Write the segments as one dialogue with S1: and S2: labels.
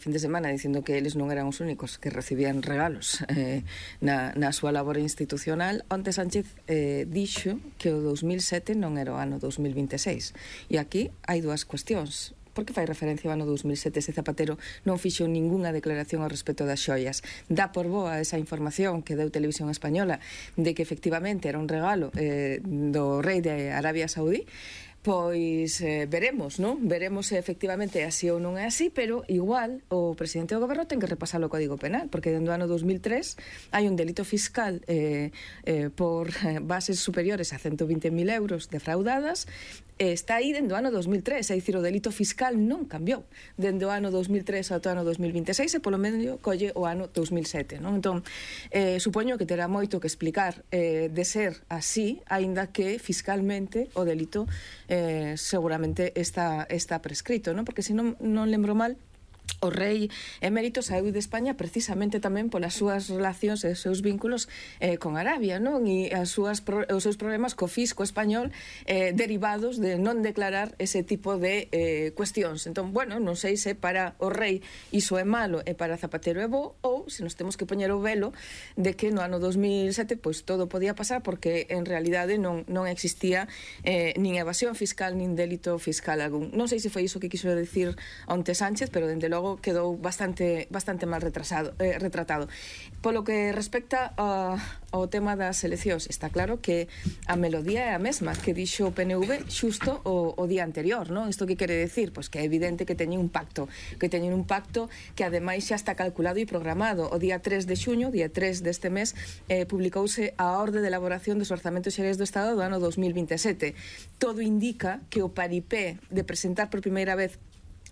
S1: fin de semana dicindo que eles non eran os únicos que recibían regalos na súa labor institucional. Onte Sánchez dixo que o 2007 non era o ano 2026. E aquí hai dúas cuestións. Por que fai referencia ao ano 2007 se Zapatero non fixo ningunha declaración ao respecto das xoias? Dá por boa esa información que deu Televisión Española de que efectivamente era un regalo do rei de Arabia Saudí? Pois veremos, non? Veremos se efectivamente é así ou non é así, pero igual o presidente do goberno ten que repasar o Código Penal, porque dentro do ano 2003 hai un delito fiscal por bases superiores a 120.000 euros defraudadas. Está aí dentro do ano 2003, é dicir, o delito fiscal non cambiou dentro do ano 2003 ao ano 2026 e polo medio colle o ano 2007, non? Entón, supoño que terá moito que explicar de ser así, aínda que fiscalmente o delito seguramente está prescrito, non? Porque se non lembro mal, o rei emérito saíu de España precisamente tamén polas súas relacións e os seus vínculos con Arabia, non? E os seus problemas co fisco español derivados de non declarar ese tipo de cuestións. Entón, bueno, non sei se para o rei iso é malo e para Zapatero é bo, ou se nos temos que poñer o velo de que no ano 2007 pois todo podía pasar porque en realidade non existía nin evasión fiscal nin delito fiscal algún. Non sei se foi iso que quiso decir onte Sánchez, pero dende logo quedou bastante mal retratado. Polo que respecta ao tema das eleccións, está claro que a melodía é a mesma que dixo o PNV xusto o día anterior, non? Isto que quere decir? Pois que é evidente que teñen un pacto que ademais xa está calculado e programado. O día 3 de xuño, día 3 deste mes, publicouse a orde de elaboración dos orzamentos xerais do Estado do ano 2027. Todo indica que o paripé de presentar por primeira vez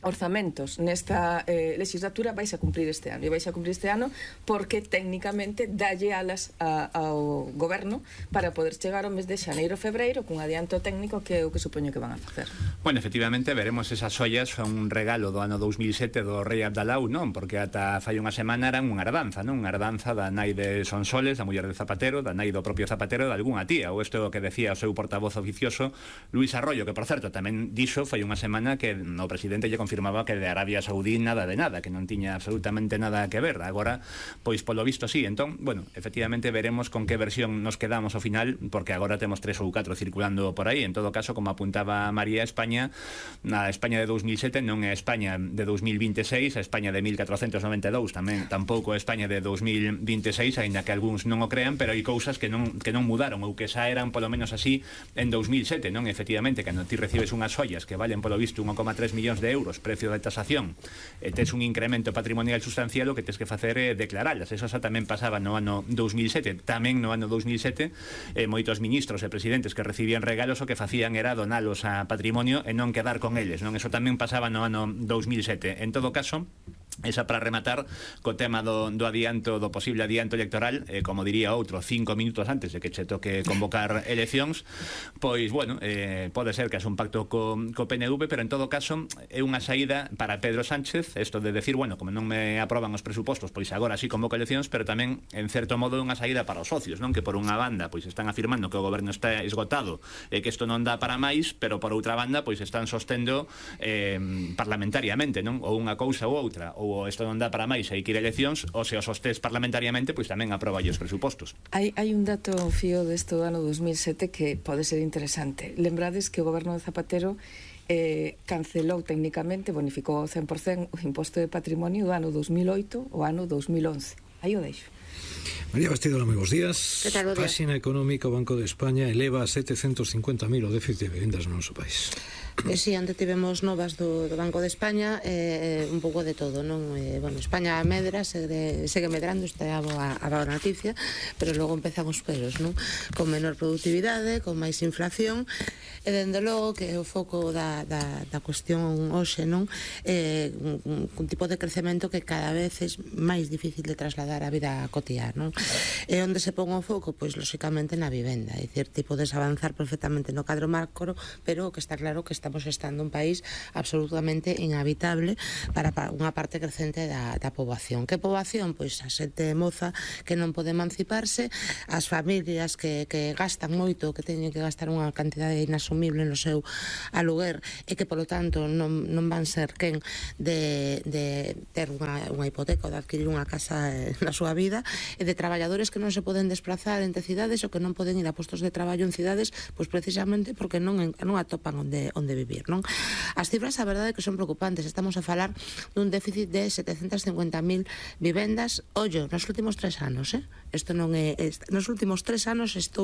S1: orzamentos nesta legislatura vais a cumprir este ano, e vais a cumprir este ano porque técnicamente dalle alas ao goberno para poder chegar ao mes de xaneiro, febreiro cun adianto técnico que é o que supoño que van a facer.
S2: Bueno, efectivamente, veremos esas ollas, son un regalo do ano 2007 do rei Abdalau, non? Porque ata fai unha semana eran unha herdanza, non? Unha herdanza da nai de Sonsoles, da muller de Zapatero, da nai do propio Zapatero, de algunha tía, ou isto que decía o seu portavoz oficioso Luis Arroyo, que por certo tamén dixo fai unha semana que o presidente lle confirmaba que de Arabia Saudí nada de nada, que non tiña absolutamente nada que ver. Agora, pois polo visto sí. Entón, bueno, efectivamente veremos con que versión nos quedamos ao final, porque agora temos 3 ou 4 circulando por aí. En todo caso, como apuntaba María, España, a España de 2007 non é a España de 2026, a España de 1492 tamén tampouco é a España de 2026, aínda que algúns non o crean, pero hai cousas que non mudaron, ou que xa eran polo menos así en 2007, non? Efectivamente, cando ti recibes unhas ollas que valen polo visto 1,3 millóns de euros, precio de tasación, tes un incremento patrimonial sustancial, o que tes que facer é declararlas. Eso xa tamén pasaba no ano 2007. Tamén no ano 2007 moitos ministros e presidentes que recibían regalos o que facían era donalos a patrimonio e non quedar con eles, non? Eso tamén pasaba no ano 2007. En todo caso, esa para rematar co tema do adianto, do posible adianto electoral, como diría outro, 5 minutos antes de que che toque convocar eleccións, pois, bueno, pode ser que haxe un pacto co PNV, pero en todo caso é unha saída para Pedro Sánchez, isto de decir, bueno, como non me aproban os presupostos, pois agora sí convoco eleccións, pero tamén, en certo modo, é unha saída para os socios, non? Que por unha banda, pois están afirmando que o goberno está esgotado e que isto non dá para máis, pero por outra banda, pois están sostendo parlamentariamente, non? Ou unha cousa ou outra, ou isto non dá para máis, hai que ir a eleccións, ou se os sostés parlamentariamente, pois tamén aproba os presupostos.
S1: Hai un dato fío deste do ano 2007 que pode ser interesante. Lembrades que o goberno de Zapatero cancelou técnicamente, bonificou ao 100% o imposto de patrimonio do ano 2008 ao ano 2011. Aí o deixo.
S3: María Bastido, moi bons días.
S1: Que tal o día?
S3: Páxina económica, o Banco de España eleva a 750.000 o déficit de vivendas no noso país.
S4: Si, antes tivemos novas do Banco de España, un pouco de todo, non? Bueno, España medra, segue medrando, esta é a boa noticia, pero logo empezan os peros, non? Con menor productividade, con máis inflación, e dende logo que o foco da cuestión hoxe, non? Un tipo de crecemento que cada vez é máis difícil de trasladar á vida cotiá, non? E onde se pon o foco? Pois, lóxicamente, na vivenda, é dicir, ti podes avanzar perfectamente no cadro macro, pero o que está claro que está estamos estando un país absolutamente inhabitable para unha parte crecente da poboación. Que poboación? Pois a xente moza que non pode emanciparse, as familias que gastan moito, que teñen que gastar unha cantidade inasumible no seu aluguer e que, polo tanto, non van ser quen de ter unha hipoteca ou de adquirir unha casa na súa vida, e de traballadores que non se poden desplazar entre cidades ou que non poden ir a postos de traballo en cidades, pois precisamente porque non atopan onde vivir, non? As cifras, a verdade, que son preocupantes. Estamos a falar dun déficit de 750.000 vivendas, ollo, nos últimos 3 anos, isto non é, nos últimos 3 anos está